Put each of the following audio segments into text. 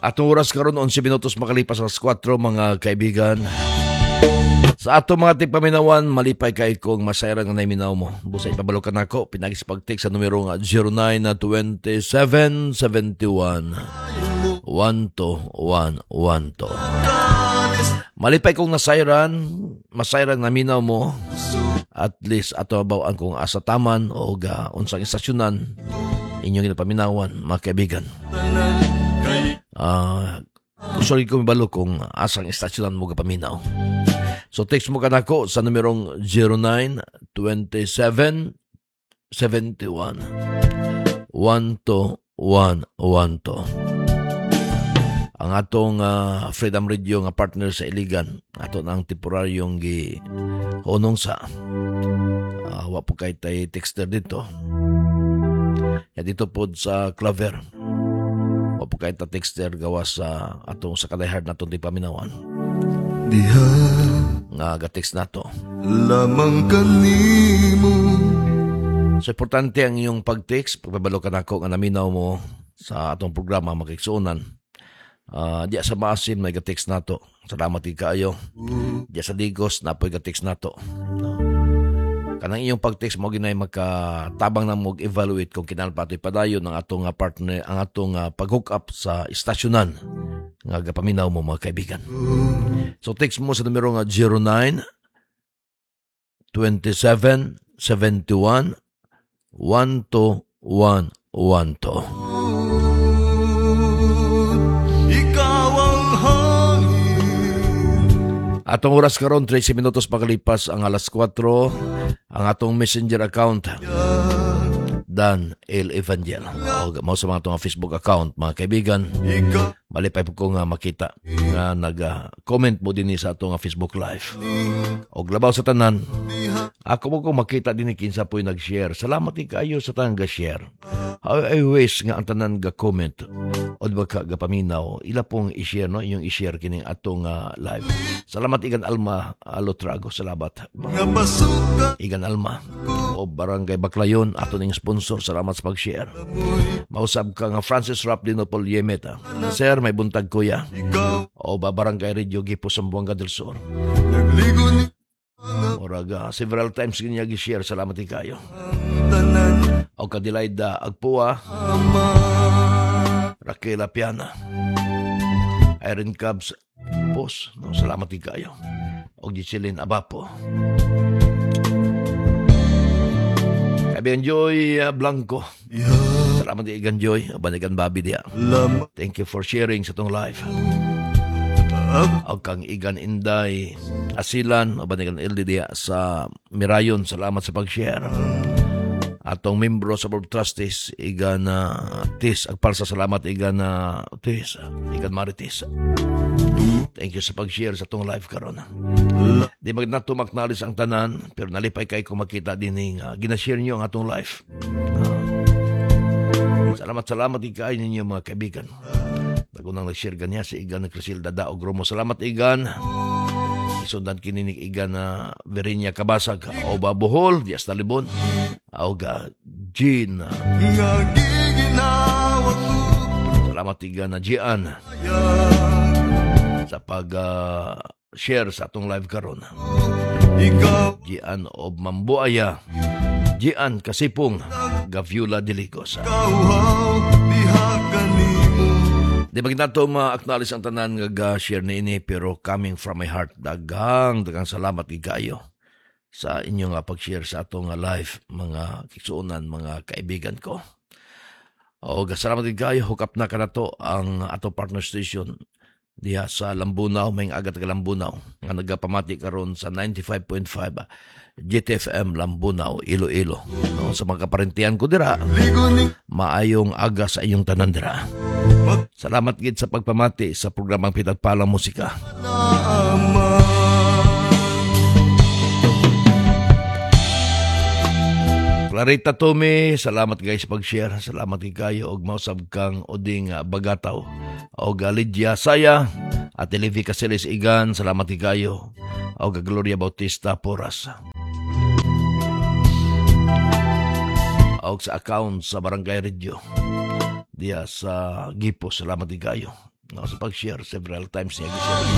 Atong oras karon, 11 minutos makalipas alas 4, mga kaibigan. Sa atong mga tigpaminawan, malipay kay kung masayran nga naminaw mo. Busa ipabalo ka nako pinagi sa pag-text sa numero nga 09 27 71 12 112. Malipay kong nasayran, masayran naminaw mo. At least ato abaw-an kung asa taman o ga unsang istasyonan inyong ginapaminawan, mga kaibigan. Gusto rin ko mibalo kung asang istasyonan mo gapaminaw. So text mo kanako sa numerong 09 27 71 12 112. Ang atong Freedom Radio nga partner sa Iligan, ato nang temporaryong gi hunong sa wa po kay tay texter dito. Ya dito pod sa Claver. Wa po kay ta texter gawas sa atong sa ka-diehard natong tigpaminawan Diha nga ga-text nato. Lamang kanimo. So importante ang iyong pag-text, pagpabalo ka nako nga naminaw mo sa atong programa, makigsuonan. Diya sa Maasim may ga-text nato. Salamat gid kaayo. Diya sa Digos napoy ga-text nato. No. Kanang iyong pag-text mo ginay makatabang na mo evaluate kung kinahanglan pa ato'y padayon ang atong partner, ang atong pag-hook up sa istasyonan nga gapaminaw mo, mga kaibigan. So text mo sa numero nga 09 27 71 12 112. Ikaw ang hangin. Atong oras karon, 13 minutos pakalipas ang alas 4, ang atong Messenger account, Dan El Evangel. O mao sa mga atong Facebook account, mga kaibigan. Ikaw Malipay po ko nga makita nga nag-comment mo din sa atong Facebook Live. Og labaw sa tanan, ako mo ko makita din kinsa po'y nag-share. Salamat din kayo sa tanang ga-share. How I wish nga ang tanan ga-comment o di ba ka gapaminaw, ila pong i-share, no, inyong i-share kining atong live. Salamat, Igan Alma Alotrago, salamat. Nga pasukan. Igan Alma o Barangay Baclayon, ato ning sponsor, salamat sa pag-share. Mausab ka nga Francis Rap Dinopol Yemeta. Sir, may buntag, kuya. Ikaw O ba Barangay Radio Gipo, Zamboanga del Sur. Nagligo ni Murag several times niya gi-share, salamat din kayo. Tanan. O Kadilayda Agpua, Ama. Raquel Apiana, Irene Cubs Pos, no, salamat din kayo. O Giselin Abapo. Kaibigan Joy Blanco. Diha Salamat din, Igan Joy, Banigan Babi diya. Lamang. Thank you for sharing sa tong live. Ako O kang Igan Inday Asilan, o Banigan Ildi diya sa Mirayon, salamat sa pag-share. Atong membro sa Board of Trustees, Igan Tis Agpalsa, salamat, Igan Tis, Igan Maritis. Thank you sa pag-share sa atong live karon. Di mag nato maknalis ang tanan, pero nalipay kay ko makita din gina-share niyo ang atong live. Salamat, salamat din kayo ninyo, mga kaibigan. Nagunang nag-share ganiya si Igan Crisilda Daog Romo. Salamat, Igan. Isundan kini ni Igan na Verinia Kabasag o Babohol, Dias Talibon. O ga Jean. Nga giginawa ko. Salamat, Igan na Gian sa pag share sa atong live karon. Ikaw Gian of Mambuaya. Gian Kasipong Gaviula Diligos. Kauhaw diha kanimo. Di ba nato ma-acknowledge ang tanan nga ga-share niini, pero coming from my heart, daghang daghang salamat gid kaayo sa inyong pag-share sa atong live, mga kigsuonan, mga kaibigan ko. O salamat gid kaayo. Hook up na kanato ang ato partner station diha sa Lambunao, may aga taga Lambunao nga nagapamati karon sa 95.5 GTFM Lambunao, Iloilo. No, sa mga kaparentian ko dira, Ligo ni maayong aga sa inyong tanan dira. Salamat gid sa pagpamati sa programang Pinagpalang Musika. Ama. Clarita Tome, salamat guys pag-share. Salamat gid kayo og mausab kang Oding Bagataw. Og Lydia Saya, Ate Levi Caceres Igan, salamat gid kayo. Og Gloria Bautista Porras. Og sa account sa Barangay Radio diya sa Gipo, salamat gid kayo. No, sa pag-share several times niya gi-share.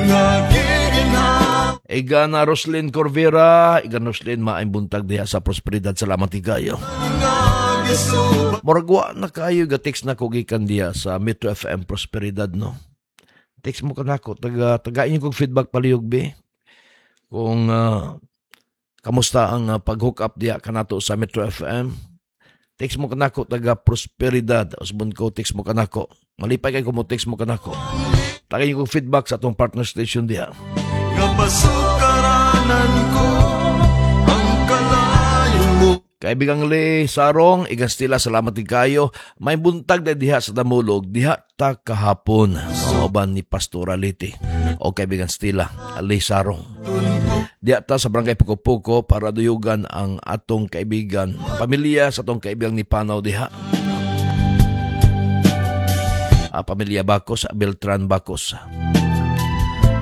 Nga giginhawa. Igan Roslyn Corvera, igan Roslyn, maayong buntag diha sa Prosperidad. Salamat kayo. Nga gisuba. Murag wa na kayo ga-text na ko gikan diha sa Metro FM Prosperidad, no. Text mo kanako, taga inyo kong feedback palihog be. Kung kamusta ang pag-hook up diha kanato sa Metro FM. Text mo kanako taga Prosperidad. Usbon ko, text mo kanako. Malipay kay ko mo text mo kanako. Taga inyo kong feedback sa atong partner station diha. Nga pasukaranan ko ang kalayo mo. Kaibigang Lee Sarong, igan Stila, salamat din kayo. May buntag na diha sa Damulog, diha ta kahapon. Mga ni Pastora Liti. O kaibigan Stila, Lee Sarong. Diha ta sa Barangay Puko-Puko para duyugan ang atong kaibigan, ang pamilya sa atong kaibigan ni Panaw diha. Pamilya Bacos, Beltran Bacos.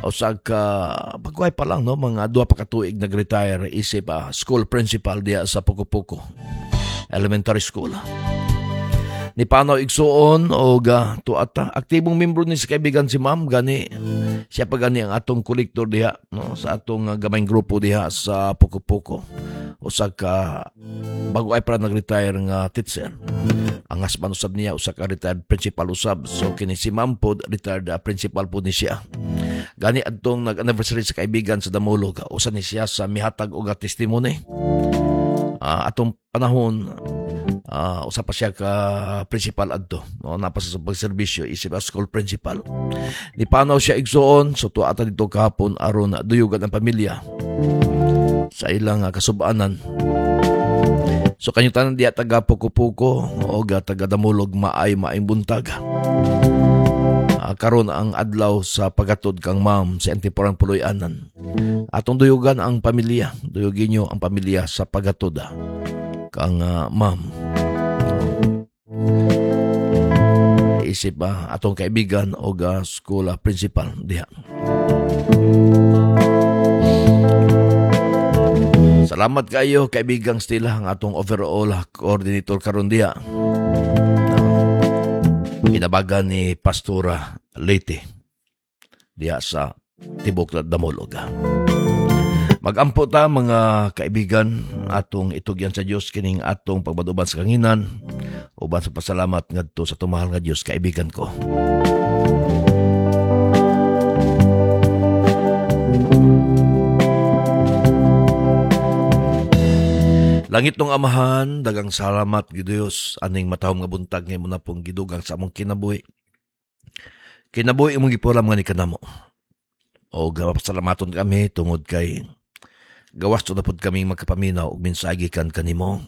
O sa ka pagkuhay pa lang, no, mga 2 pa ka tuig nag-retire isip school principal diha sa Puko-Puko Elementary School. Ni Panaw igsuon og tuata aktibong membro ni sa kaibigan si ma'am, gani siya pa gani ang atong kolektor diha, no, sa atong gamayng grupo diha sa Puko-Puko. Usa ka bago ay para nag-retire nga teacher. Ang husband usab niya usa ka retired principal usab. So kini si ma'am pod retired principal pod ni siya. Gani adtong nag-anniversary sa kaibigan sa Damulog, usa ni siya sa mihatag og testimony. Atong panahon, usa pa siya ka principal adto, no, napa sa pagserbisyo isip a school principal. Ni panaw siya igsuon, so tuwa ata dito kahapon aron duyugan ang pamilya sa ilang kasubanan. So kanyo tanan diya taga Puko-Puko o taga Damulog, maay maayong buntag. Karon ang adlaw sa pagatod kang ma'am sa temporang puloy-anan. Atong duyugan ang pamilya, duyugin nyo ang pamilya sa pagatod kang ma'am. Isip atong kaibigan o school principal diha. Salamat kayo kaibigang Stila, ang atong overall coordinator karon diha. Kinabagan ni Pastora Leyte diha sa Tibok Damulog. Magampo ta mga kaibigan, atong itugyan sa Dios kining atong pagbaduban sa kanginan uban sa pasalamat ngadto sa tumahal nga Dios, kaibigan ko. Langit nung Amahan, dagang salamat gi Dios aning matahom nga buntag nga imo na pong gidugang sa among kinabuhi. Kinabuhi imong gipulam nga ni kanamo. O pasalamaton kami tungod kay gawas to na pud kaming magkapaminaw og mensahe gikan kanimo.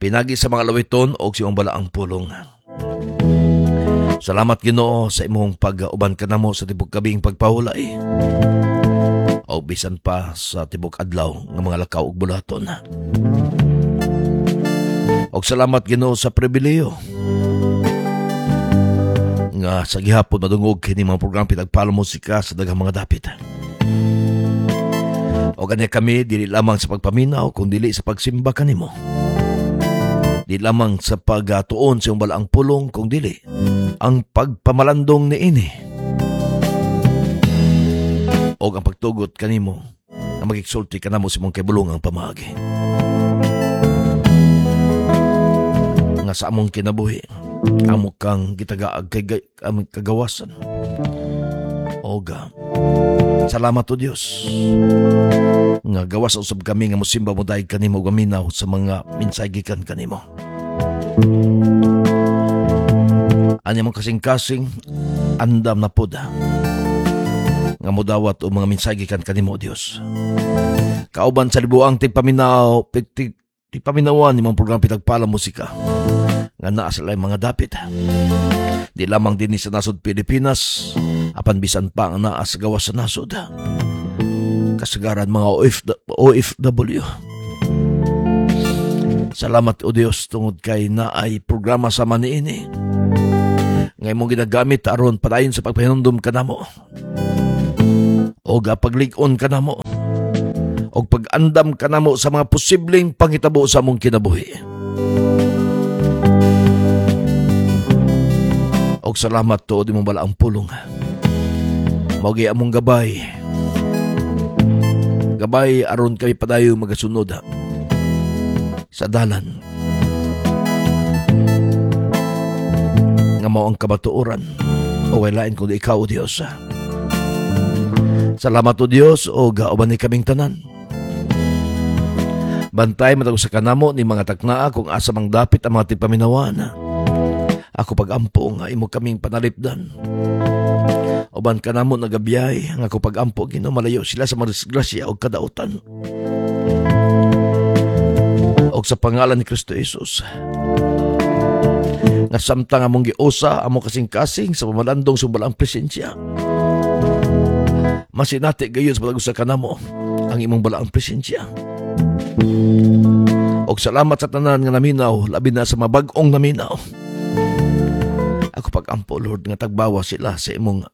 Pinagi sa mga lawiton og sa imong balaang pulong. Salamat Ginoo sa imong pag-uban kanamo sa tibok gabing pagpahulay. O bisan pa sa tibok adlaw nga mga lakaw ug bulaton. Og salamat Ginoo sa pribileyo nga sa gihapon madungog kini mga programa Pinagpala Musika sa daghang mga dapit. O kanya kami dili lamang sa pagpaminaw kun dili sa pagsimba kanimo. Di lamang sa pagtuon sa iyong balaang pulong kung dili ang pagpamalandong niini. O ang pagtugot kanimo na magigsulti kanamo sa imong kaibulong ang pamaagi. Nga sa among kinabuhi, amo kang gitagaag kay among kagawasan. Oga, salamat o Dios. Nga gawas usab kami nga mosimba mo dahil kanimo ug aminaw sa mga minsay gikan kanimo. Ani mong kasing-kasing andam na pod nga modawat o mga minsay gikan kanimo, Dios. Kauban sa libuang tigpaminaw, tigpaminawan ni mga programa Pinagpala Musika nga naa sa laing mga dapit. Di lamang dinhi sa nasod Pilipinas, apan bisan pa ang naa sa gawas sa nasod. Kasagaran mga OFW. Salamat o Dios tungod kay naay programa sa maniini. Nga imong ginagamit aron padayon sa pagpahinumdom kanamo. O paglig-on kanamo. O pag-andam kanamo sa mga posibleng panghitabo sa among kinabuhi. Og salamat tuod imong balaang pulong. Mao gyud among gabay. Gabay aron kami padayon magasunod sa dalan nga mao ang kamatuoran o way lain kundi ikaw, O Dios. Salamat, O Dios, o uban ni kaming tanan. Bantay matag sa kanamo ni mga taknaa kung asa mang dapit ang mga tigpaminawan. Ako pag-ampo nga imo kaming panalipdan. Uban kanamo nagabiyay nga ako pag-ampo, Ginoo, malayo sila sa mga disgrasya o kadautan. Og sa pangalan ni Kristo Jesus, nga samtang among giusa among kasing-kasing sa pamalandong sa balaang presensya, masinati gayon sa matag usa kanamo ang imong balaang presensya. Og salamat sa tanan nga naminaw, labi na sa mabag-ong naminaw. Ako pag-ampo, Lord, nga tagbawa sila sa imong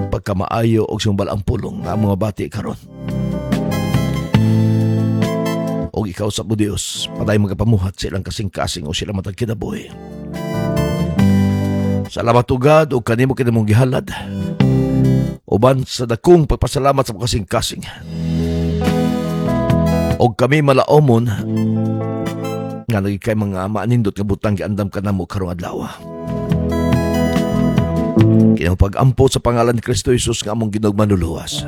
pagkamaayo og sa imong balaang pulong nga among mabati karon. Og ikaw sa Dios, paday magapamuhat sa ilang kasing-kasing o sila matag kinabuhi. Salamat o God og kanimo kini mong gihalad. Uban sa dakong pagpasalamat sa kasing-kasing. Og kami malaomon nga naging kay mga maanindot nga butang giandam kanamo karong adlaw. Kini pag-ampo sa pangalan ni Kristo Jesus nga among Ginoong Manluluwas.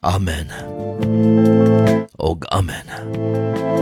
Amen. Og amen.